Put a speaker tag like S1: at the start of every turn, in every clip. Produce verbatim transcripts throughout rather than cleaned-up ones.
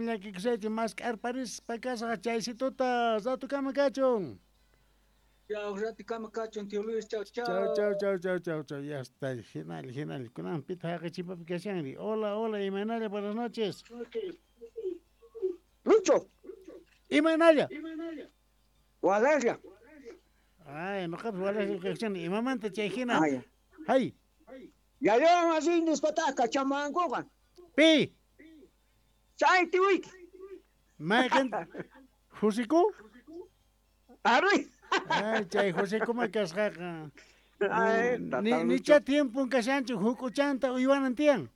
S1: Llakikusaychu mask'arparispa kasqa chaysituta ratukama kachun.
S2: Chau, ratukama kachun, tío Luis, chau, chau.
S1: Chau, chau, chau, chau, chau, chau, ya está, genial, genial. Kunan pita haqi kashanri. Hola, hola, imaynalla, buenas noches.
S3: Lucho.
S1: Imaynalla.
S3: Walaria.
S1: Ay, noqapis walaria kashani. Imamanta chay hina. Hay.
S3: Yayan así nispataq kachamankuqa.
S1: Pi.
S3: Chay tiwiki.
S1: Mayqin Josiku?
S3: Ari.
S1: Ay, chay Josikuma kasqaqa. Ni nicha tiempon kashanchu huk'uchanta uywanan tiyan.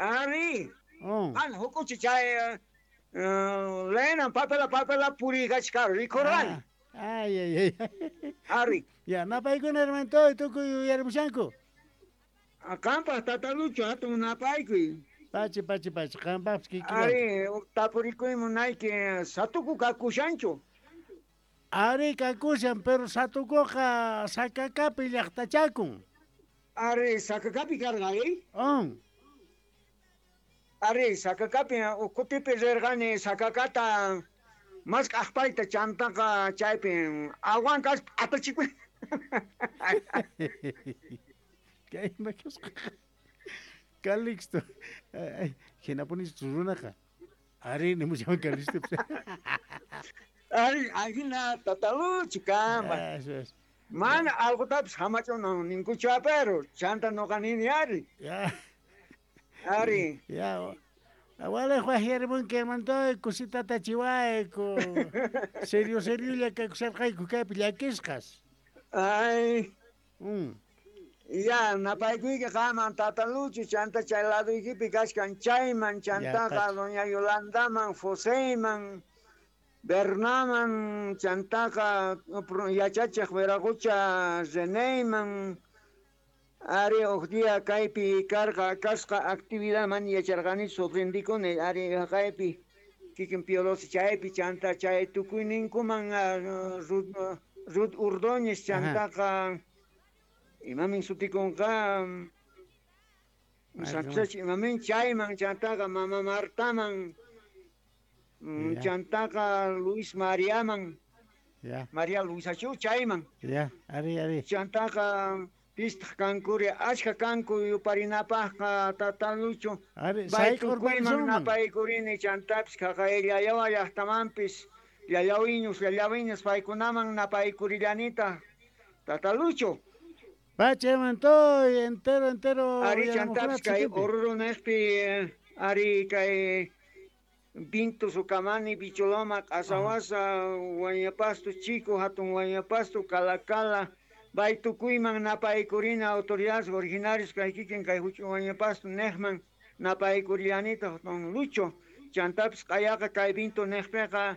S3: Ari.
S1: Oh.
S3: An huk'uchi chay lenan papela papela purikachkar rikurani.
S1: Ay, ay, ay.
S3: Ari.
S1: Ya, napaykuna hermanito tukuy uyarimushanku.
S3: Qanpaq tata Lucho hatun napaykuy.
S1: Pachi, pachi, pachi, qanpaqpis kikillanki.
S3: Ari, tapurikuy munayki satuku kakushanchu.
S1: Ari kakushan, pero satukuqa Sakakapi llaqtachakun.
S3: Ari, Sakakapi karqa, eh?
S1: On.
S3: Ari, Sakakapi kutipi rirqani Sakakata mask'aqpayta chantaqa chaypi awankas apachikuy.
S1: Kay kasqa. Calixto. Ay, hinapunis runaqa. Ari nimushan Calixto.
S3: Ari, ajina tata Lucho kamba.
S1: Eso es.
S3: Mana alqutapis hamach'una ninkuchu pero chanta noqa nini ari.
S1: Ya.
S3: Ari.
S1: Ya. Awalej wajyarimunki hermanitoy kusitata chiwayku. Serio seriolla kakusharqayku kaypi llakisqas.
S3: Ay.
S1: Mm.
S3: Ya, napaykuyki qaman tata Lucho chanta chay laduykipi kachkan chayman chantaqa doña Yolandaman, Joseyman, Bernaman, chantaqa yachachiq Veragocha Reneyman. Ari huk día kaypi karqa kasqa actividadman yacharqani sorprendikuni ari kaypi kikin Piolosi chaypi chanta chay tukuyninkuman Ruth, Ruth Ordóñez chantaqa imamin sutikunqa Sanchach imamin chayman chantaqa mama Martaman chantaqa Luis Mariaman.
S1: Ya.
S3: María Luisachu chayman.
S1: Ya, ari ari.
S3: Chantaqa pistaq kankuri achka kanku yuparinapaqqa tata Lucho.
S1: Ari,
S3: sayk'urparisunman. Napaykurini chantapis qaqay llallawa llaqtamanpis llallawiñus llallawiñas paykunaman napaykurillanita tata Lucho.
S1: Pachi hermanitoy, entero entero.
S3: Ari chantapis kay Oruro neqpi ari kay Vinto Sucamani, Bicholoma, Q'asawasa, Huayñapasto Chico, hatun Huayñapasto, Calacala, Baytukuyman napaykurina autoridades originarios kay kikin kay huch'uy Huayñapasto neqman napaykurillanita don Lucho. Chantapis q'ayaqa kay Vinto neqpiqa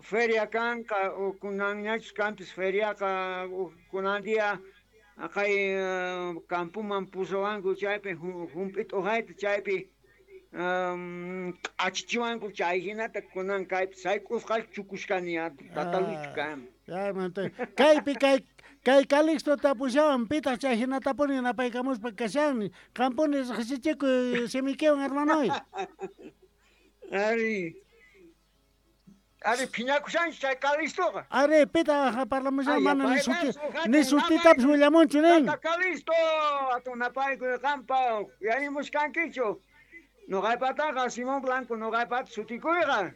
S3: feria kanqa kunanñachus kanpis feriaqa kunan día kay campoman pusawanku chaypi hump'it'uqayta chaypi achichiwanku chay hinata kunan kaypi sayk'usqa chukushkani tata Lucho kan.
S1: Ya, hermanito. Kaypi kay kay Calixto tapushawan pitaq chay hinatapuni napaykamuspa kashan. Qampuni riqsichikuy simikiwan hermanoy.
S3: Ari. Ari phiñakushanchu chay Calixtoqa.
S1: Ari pitaq parlamushan mana ni suti ni sutitapis willamunchu nin.
S3: Tata Calixto hatun napaykuy qampa yarimushkankichu. Noqaypataqa Simón Blanco noqaypata sutikuyqa.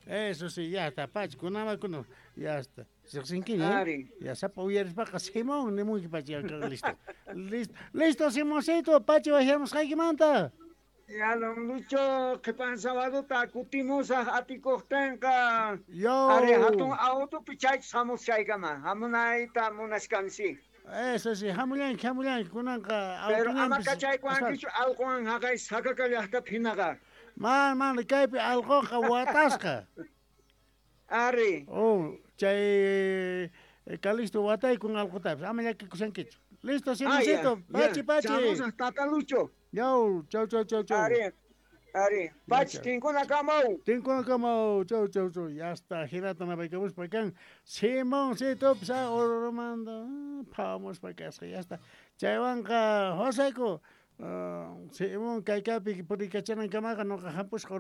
S1: Eso sí, ya está, pachi, kunama kuna, ya está. Riqsinkiña,
S3: Ari.
S1: Ya sapa uyarispaqa Simón nimunki pachi, ya, listo. Listo, listo Simoncito, pachi wajyamusqaykimanta.
S3: Ya don Lucho, qhipan sabaduta kutimusaq atikuqtinqa.
S1: Yo.
S3: Ari hatun autopi chaychis hamus chaykama, hamunayta munashkansi.
S1: Eso sí, hamullanki, hamullanki, kunanqa
S3: Pero ama kachaykuwankichu allquwan haqay Sakaka llaqtapi hinaqa.
S1: Man, man, kaypi allquqa watasqa.
S3: Ari.
S1: Oh, chay Calixto wataykun allqutapis, ama llakikushankichu. Listo, Simoncito, pachi, pachi.
S3: Chamusaq tata Lucho.
S1: Yau, chau, chau, chau, chau.
S3: Ari, ari, pachi, tinkunakamaw.
S1: Tinkunakamaw, chau, chau, chau. Ya está, hinata napaykamuspa kan. Simoncito, pisa, Ororomanta, phawamuspa kasqa, ya está. Chaywanqa, Josayku, Simón kaykapi purikachanankamaqa noqa hampusqa.